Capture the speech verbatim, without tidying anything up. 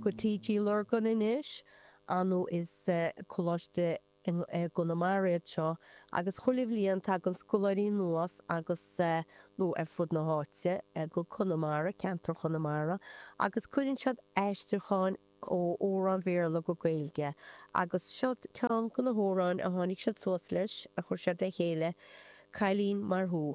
go T G Lurgan anois nó is coláiste i gConamara iad seo agus chuile bhliain tagann scoláirí anuas agus nó ar fud na háite go Conamara, ceantar Chonamara, agus cuireann siad aistriúcháin ó amhráin Bhéarla go Gaeilge agus seo ceann de na hamhráin a tháinig siad suas leis a chuir siad le chéile, Cailín mar thú.